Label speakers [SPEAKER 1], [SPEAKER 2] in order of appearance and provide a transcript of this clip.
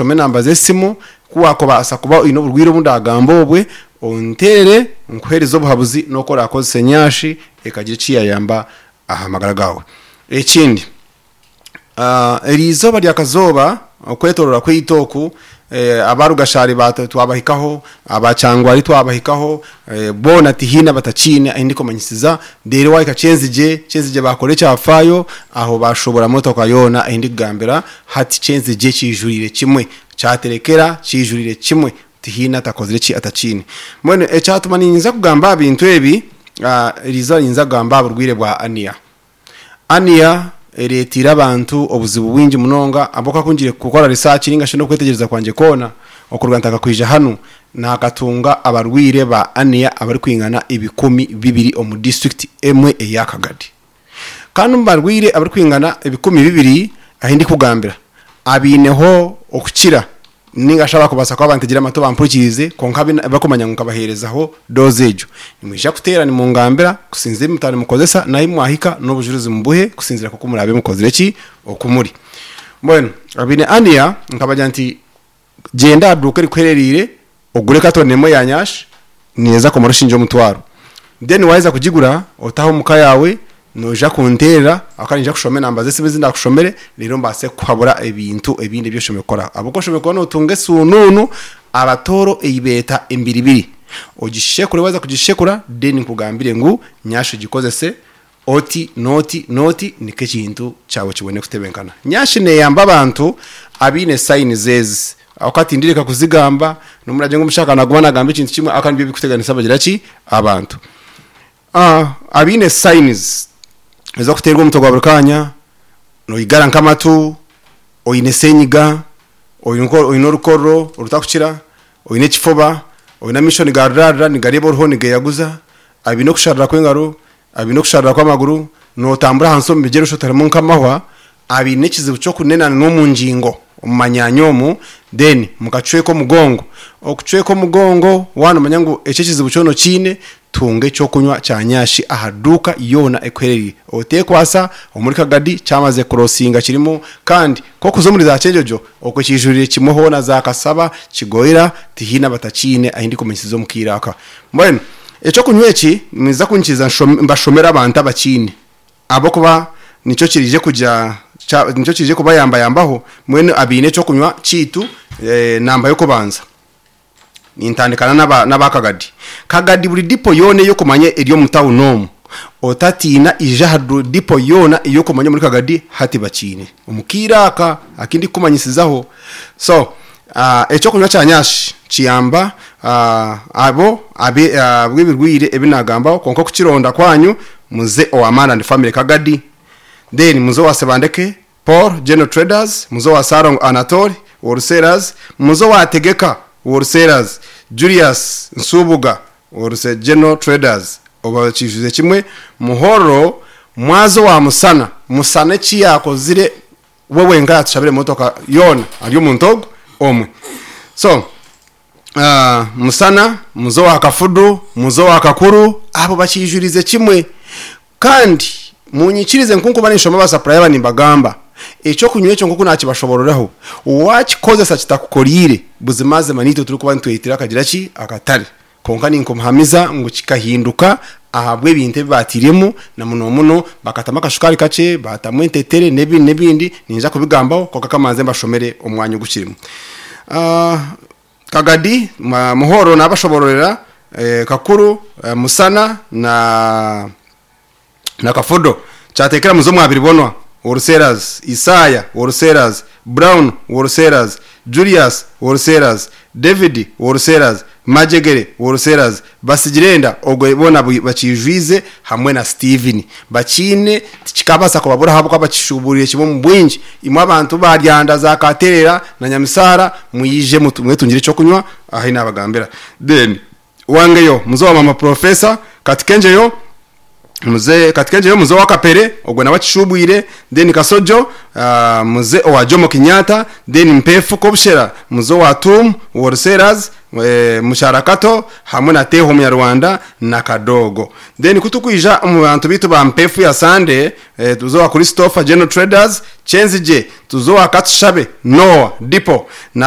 [SPEAKER 1] kushoma enamba z'esimu, ku waakubaasa kuba oine oburwaire obu ndaagamba obwe, onteerere nkuheereze obuhabuzi n'oku oraakozese nyashi ekagira eki yaayamba aha magara gaawe. Ekindi, eri izooba rya kazooba okwetoroora kwaitu oku, aba Rugashari twabahikaho, aba Kyangwari twabahikaho, boona tihaine abatakiine ahu ndikumanyisiza, reero waahika Kyenzigye, Kyenzigye baakora ekyafaayo, aho baashoboora motoka yoona ei ndikugambira hati Kyenzigye kiijuriire kimwe, kyaterekera kiijuriire kimwe, tihaine atakozire ki atakiine. Mbwenu ekyatuma niinyija kugamba aha bintu ebi, eri izooba niinyija kugamba aha burwaire bwa aniya. Aniya ereeteire abantu obuzibu bwingi munonga ahabw'okuba ku ngiire kukora research ninga shi n'okwetegyereza kwangye kwona okuruga ntandika kwija hanu, naakatunga abarwaire ba aniya abarikwingana 2000 omu disiturikiti emwe eya Kagadi. Kandi omu barwaire abarikwingana 2000 ahu ndikugambira, abaineho okukira Ninga shi abakubaasa kuba bantegire amatu bampurikiize, kwonka abu barikumanya ngu nkabaheerezaho doozi egyo. Nimwija kuteera nimungambira kusinziira ebi mutaba nimukozesa n'ahu mwahika n'obujurizi mubuhe kusinziira nk'oku muraabe mukozire ki oku muri. Mbwenu abaine aniya nkabagira nti gyenda aha duuka erikuherereire ogure katoni emwe ya nyashi neeza kumara oshingye omutwaro. Then waaheza kugigura otahe omuka yaawe Noija kunteerera ahabw'okuba niinyija kushoma enamba z'esimu ezi ndaakushomere reero mbaase kukuhabura ebintu ebindi ebi oshemereire kukora. Ahabw'okuba oshemereire kuba nootunga esuunuunu abatooro ei beeta embiribiri. Ogishekure waaheza kugishekura then nkugambire ngu nyashi ogikozese oti n'oti n'oti nikwo ekintu kyawe kibone kutebenkana. Nyashi neeyamba abantu abaine signs ezi ahabw'okuba tindireka kuzigamba n'obu ngu omushaka naaguma naagamba ekintu kimwe ahabw'okuba nibyo birikuteganisa abagira ki? Abantu. Abaine signs ez'okuteerwa omutwe gwa buri kaanya, noigara nk'amatu, oine senyiga, oine orukorro orutakukira, oine ekifuba, oine amaisho nigarurarura nigareeba oruho nigeeyaguza, abaine okusharira kw'engaro, abaine okusharira kw'amaguru, nootambura ahansi omu bigyere oshutarimu nk'amahwa, abaine ekizibu ky'okunena n'omu ngingo omu manyaanya omu then mukacweka omugongo. Okucweka omugongo waaba nomanya ngu eki ekizibu kyona okiine, tunga eky'okunywa kya nyashi aha duuka yoona ekuherereire. Oteekwasa omuri Kagadi kyamaze kurosinga kirimu kandi ku orikuza omuri za Kyenjojo okwo kiijuriire kimwe hoona za Kasaba, Kigoyera tihaine abatakiine ahu ndikumanyisiza omu kaire aka. Mbwenu eky'okunywa eki nimwija kunyikiriza mbashomere abantu abakiine. Ahabw'okuba nikyo kiraije kugira, nikyo kiraije kubayambayambaho mbwenu abaine eky'okunywa kyaitu namba y'okubanza. Nintandikana n'aba Kagadi. Kagadi buri dipo yoona ei okumanya eri omu tawuni omu, otatiina ija aha dipo yoona ei okumanya omuri Kagadi hati bakiine. Omu kaire aka aku ndikukumanyisizaho. So, eky'okunywa kya nyashi kiyamba abo ab'ebirwaire ebi naagambaho kwonka okukironda kwanyu muze owa Man and Family Kagadi, then muze owa Sebandeke Paul General Traders, muze owa Ssalongo Anatole Wholesalers, muze owa Tegeka Wholesalers, Julius Nsubuga Wholesale General Traders, obakiijuze kimwe Muhoro mwaza owa Musana, Musana eki yaakozire we wenka yaatushabira emotoka yoona ari omuntu ogwo omwe. So Musana, muze owa Kafudu, muze owa Kakuru, abo bakiijurize kimwe. Kandi munyikirize nk'oku nkuba ninshoma ba sapuraya aba nimbagamba, eky'okunywa ekyo nk'oku naakibashobororaho, waakikozesa kitakukoriire, buzimazima naitwe turikuba nitweyitira akagira ki? Akatare. Kwonka ninkumuhamiza ngu kikahinduka ahabw'ebintu ebi baatairemu, na munomuno bakatamu akashukaari kakye, baatamu entetere n'ebindi n'ebindi, niinyija kubigambaho kwonka ka mbanze mbashomere omwanya ogukirimu. Kagadi, Muhoro naabashoboororera, Kakuru, Musana na na Kafudo. Kyateekera muze omwa Biribonwa Wholesalers, Isaya Wholesalers, Brown Wholesalers, Julius Wholesalers, David Wholesalers, Majegere Wholesalers, Basigirenda ogwo boona bakiijwize hamwe na Steven. Bakiine tikikabaasa kubabura ahabw'okuba bakishuuburiire kimwe omu bwingi. Imwe abantu ba Ryanda, za Katerera na Nyamisaara mwije mwetungire eky'okunywa ahi naabagambira. Then Wangeyo muze owa mama Professor, Katikengyeyo muze Katikengyeyo muze owa Kapere ogwo nawe akishubwire, then Kasojo muze owa Jomo Kenyatta, then Mpefu Kobushera muze owa Tum Wholesalers, Musharakato hamwe na Teho Omunyarwanda na Kadogo. Then kutukwija omu bantu baitu ba Mpefu ya Sunday tuze owa Christopher General Traders, Kyenzigye tuze owa Katushabe Noah Depot na.